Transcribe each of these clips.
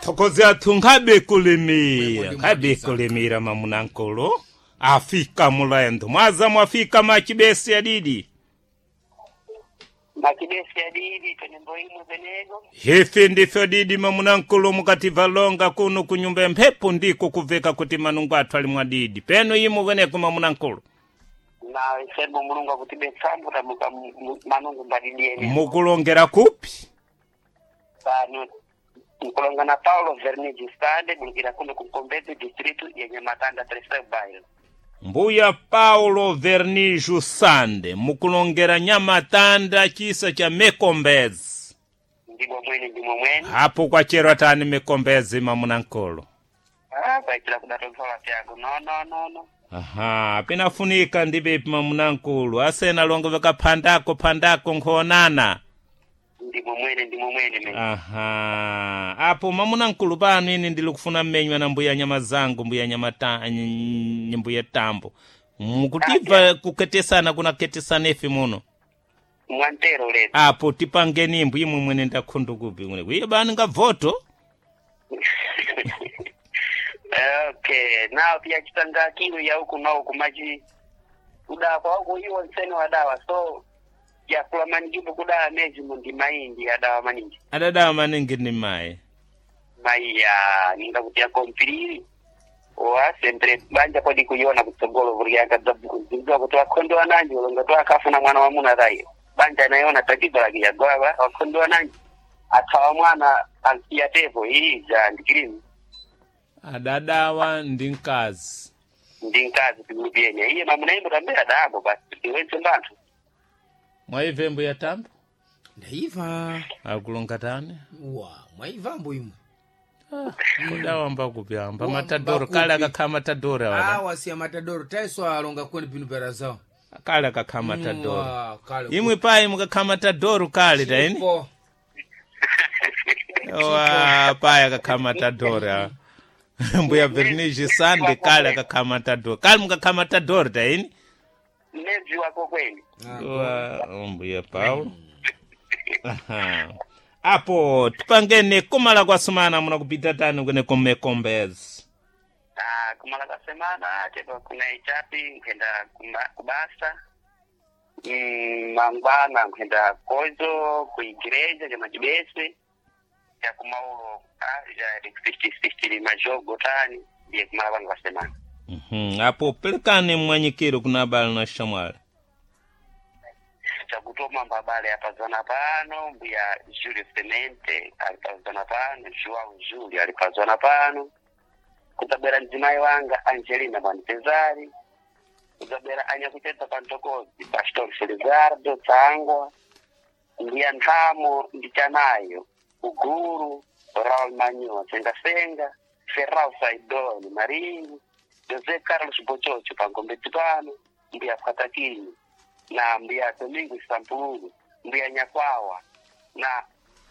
Thokoze athu nkhabe kulimira, nkhabe kulimira mamunankolo. Afika mulendo. Mwaza mwafika machibesi adidi. Makidesi adidi penembo imwe penego. Hifi ndifyo didi mamunankulu mukativa kuno kunyumba ya mphepo ndiko kuveka kuti manungu athu ali mwadidi. Peno imwe kweneko mamunankulu. Na isembo mulungu akutibetsambo tamuka manungu mbadidiene. Mukulongera kupi? Pano nkulonga na Paulo Vernigi Stade bulukira kuno kuMkombezi district yenye Matanda terceiro bairro. Mbuya Paulo Vernijo Sande mukulongera Nyamatanda chisa cha Mekombezi. Ndimo mwene ndimo mwene. Hapo kwacherwa tani Mekombezi mamunankulu. Ah, kwaitira kudatonsola tyago. No no no no. Aha, pinafunika ndipepi mamunankulu asena longo vakaphandako phandako nkhoonana. Ndimo mwene ndimo mwene me. Aha, apo mamunankulu pano ine ndili kufuna mmenywa na mbuya nyama zangu mbuya nyama ta, mbuya tambo mukutiva kuketesana kunaketesana ife muno. Mwantero letu. Apo tipangeni imbu imwe mwene ndakhundu kupi mwene kuiye bani ngavoto. Okay, nao pia chitanga kilu ya huku nao kumachi kudawa kwa huku iwo nsene wadawa so yakula manijibu kudawa mezi mundi mahindi adawa maningi Adadawa maningi ni mayi. maiya ninga kuti akompiriri wa sempre banja kodi kuiona kutsogolo vulianga dzabzwa kuti wakhondo wananji ulonga to akafuna mwana wa muna tayo banja nayona tatizo lake yagwawa wakhondo wananji athawa mwana ansiya tepo iyi ja ndikirimu Adadawa ndi mkazi. ndi mkazi tikulupienya iye mamunaimbo tambera dabo basi tiwetse mbanthu Mwaive mbuya tambo? Ndaiva. Akulonga tani? Wa, mwaiva mbo imwe. Kudawa mbakupi amba Wa, matadoro mbakupi. kale akakhala matadoro awala. Awa siya matadoro taiso alonga kweni pinu perazao. Kale akakhala matadoro. Wa, kale. Imwe payi mukakhala matadoro kale taini? Po. Wa payi akakhala matadoro awa. Mbuya Vernigi Sande kale akakhala matadoro. Kale mukakhala matadoro taini? mmedzi wako kweni Wa mbuya Paulo. Aha. Apo tipangene kumala kwasumana muna kupita tani kwene kumekombezi. Ah, kumala kwa semana tepo kuna ichapi nkhenda kubasa mangwana nkhenda kozo kuigireja cha machibese cha kumaulo ja 60 majogo tani ndiye kumala kwangu kwa semana. Mhm. Apo pelekane mwanyikiro kuna abale na shamwali. Chakutoma mbabale apazana pano mbuya Julio Semente alipazana pano Joao Julio alipazana pano kutabwera mdzimai wanga Angelina Bwanipezari kutabwera anyakuchedza pantokozi Pastor Felizardo Tsangwa mbuya Nthamo ndichanayo Uguru Raul Manyoa Sengasenga Ferrao Saidoni Marinho José Carlos Bochocho pangombedzi pano mbuya Pwatakini na mbuya Domingo Sampulu mbuya Nyakwawa na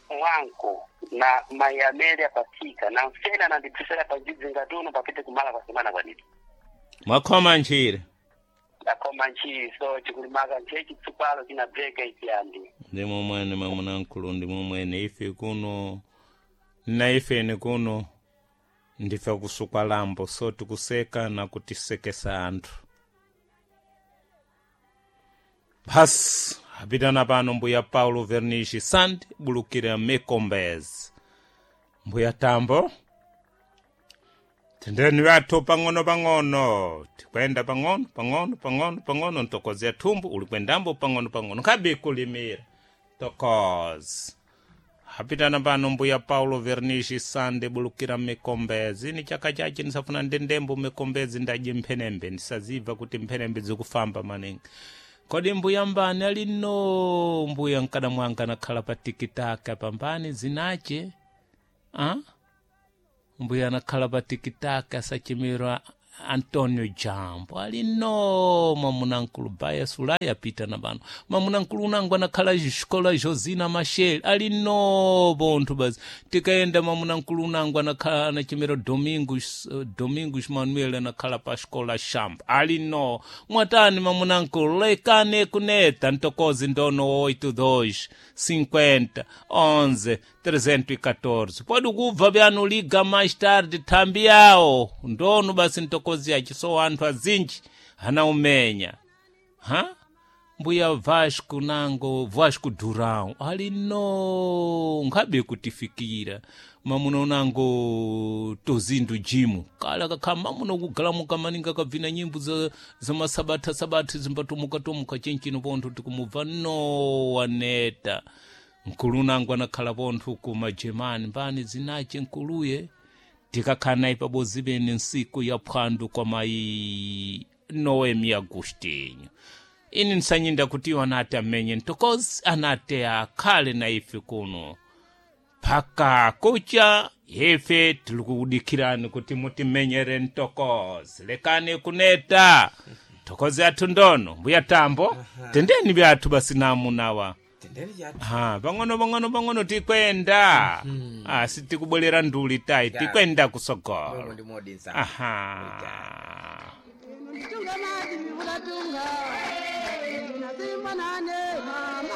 Mwanko na Mai Amélia Pasika na mfena nandibvisera pajidzinga tuno papite kumala kwa semana kwanito Mwakhoma nchire. ndakoma nchiso chikulimaka nchechi tsupalo china breka ichiyandi. Ndimo mwene mamunankulu ndimo mwene ife kuno na ifeni kuno ndife kusukwa lambo so tikuseka na kutisekesa anthu. Basi apitana pano mbuya Paulo Vernishi Sand bulukira Mekombezi. Mbuya Tambo tendeni wathu pang'ono pang'ono tikwenda pang'ono pang'ono pang'ono pang'ono ntokozi thumbu uli kwendambo pang'ono pang'ono nkhabe kulimira tokozi apitana pano mbuya Paulo Vernishi Sande bulukira Mikombezi ni chaka chache ndisafuna ndendembo Mikombezi ndaje mphenembe ndisaziva kuti mphenembe zikufamba maningi. Kodi mbuya mbani alino mbuya mkada mwanga anakhala pa tikitaka pambani zinache ah? Mbuya anakhala pa tikitaka sachimirwa Antonio Jambo ali no mamunankulu baya sulai apita na pano mamunankulu unangu anakhala xikola Josina Machel ali no bonthu basi tikaenda mamunankulu unangu anakhala anachemera Domingos, Domingos Manuel anakhala pa xikola Shambo ali no mwatani mamunankulu lekane kuneta ntokozi ndono 82 50 11 314 pode kubva byanu liga mais tarde thambi yawo ndonu basi ntokozi yaci so anthu azinji anaumenya ha mbuya Vasco nango Vasco Durão ali no nkhabe kutifikira mamuno nango tozindu jimu kala kakha mamuno kugalamuka maninga kabvina nyimbo za, za masabatha sabatha zimbatumuka-tumuka chinchino pontho tikumubva no waneta nkulu nango anakhala pontho ku majemani mbani zinace nkuluye tikakhala naye pabodzi pene nsiku ya phwando kwa mayi Noemi Agostinho ini nsanyinda kuti iwo anati amenye ntokozi anati akhale na ife kuno phaka kucha ife tilikudikirani kuti mutimenyere ntokozi lekani kuneta ntokozi athu ndono mbuya tambo tendeni byathu basi namunawa Tendeni chathu. ha pang'ono pang'ono pang'ono tikwenda ah, sitikubwerera nduli tayi tikwenda kusogolo Momwe ndi modinsa. aha Tunga maji mvula tunga.